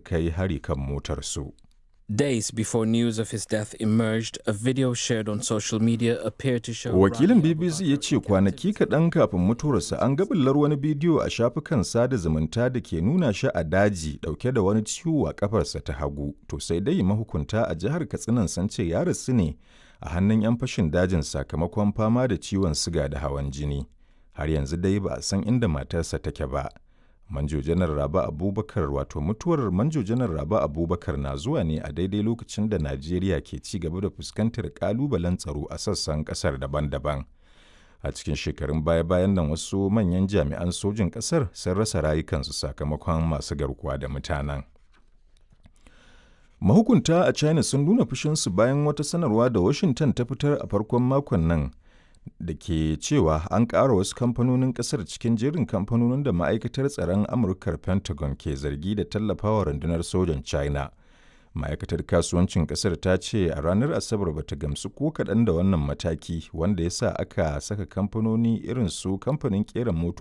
kai hari kan motarsu. Days before news of his death emerged, a video shared on social media appeared to show Wakilin Rabi BBC ya Abubakar ce kwanaki kaɗan kafin mutuwarsa an ga bullar wani bidiyo a shafukan sada zumunta da ke nuna shi a daji ɗauke da wani ciwo a ƙafarsa ta hagu. To sai dai mahukunta a jihar Katsinan sun ce ya rasu ne a hannun 'yan fashin dajin sakamakon fama da ciwon siga da hawan jini. Har yanzu dai ba a san inda matarsa take ba. Manjo Janar Rabe Abubakar wato mutuwar Manjo Janar Rabe Abubakar na zuwa ne a daidai lokacin da Najeriya ke ci gaba da fuskantar kalubalen tsaro a sassan kasar daban-daban. A cikin shekarun baya-bayan nan wasu manyan jami'an sojin kasar sun rasa rayukansu sakamakon masu garkuwa da mutanen. Mahukunta a China sun nuna fushinsu bayan wata sanarwa da Washington ta fitar a farkon makon nan da ke cewa an ƙara wasu kamfanonin ƙasar cikin jerin kamfanonin da ma'aikatar tsaron Amurkar Pentagon ke zargi da tallafawa rundunar sojan China. Ma'aikatar kasuwancin ƙasar ta ce a ranar Asabar bata gamsu ko kaɗan da wannan mataki wanda ya sa aka saka kamfanoni irin su kamfanin ƙera motoci